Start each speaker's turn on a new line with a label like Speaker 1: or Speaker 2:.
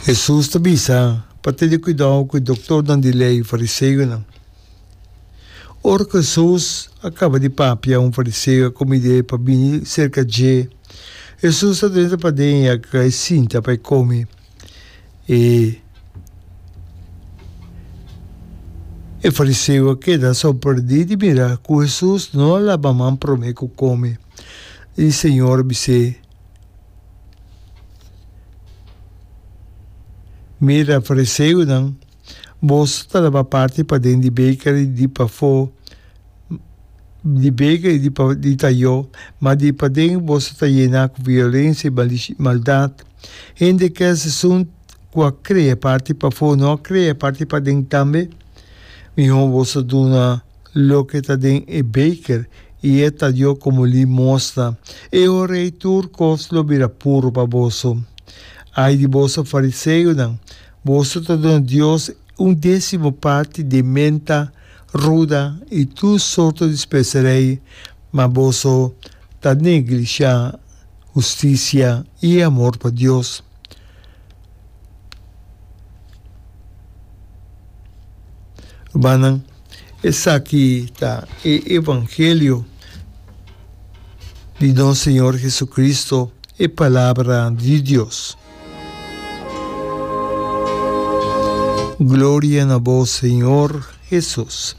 Speaker 1: Hesus ta bisa pa tene kuidou ku e doktornan di lei i fariseonan. Ora ku Hesus a kaba di papia, un fariseo a kumid'é pa bini serka dje. Hesus a drenta paden i a kai sinta pa e kome. E E fariseo a keda sorprendí di mira ku Hesus no a laba man promé ku kome. I Señor a bis'é, Mira, fariseonan, boso ta laba parti paden di beker i di pafó di beker i di tayó, ma di paden boso ta yená ku violensia i maldat. Hende kes esun ku a krea parti pafó no a krea parti paden tambe? Mihó boso duna loke ta den e beker i e tayó komo limosna. E ora ei tur kos lo bira puru pa boso. Ai di boso fariseonan! Boso ta duna Dios un désimo parti di menta, ruda i tur sorto di speserei, ma boso ta neglishá hustisia i e amor pa Dios. Rumannan, esaki ta e evangelio di nos Señor Jesucristo, e Palabra di Dios. Gloria na bo, Señor Jesus.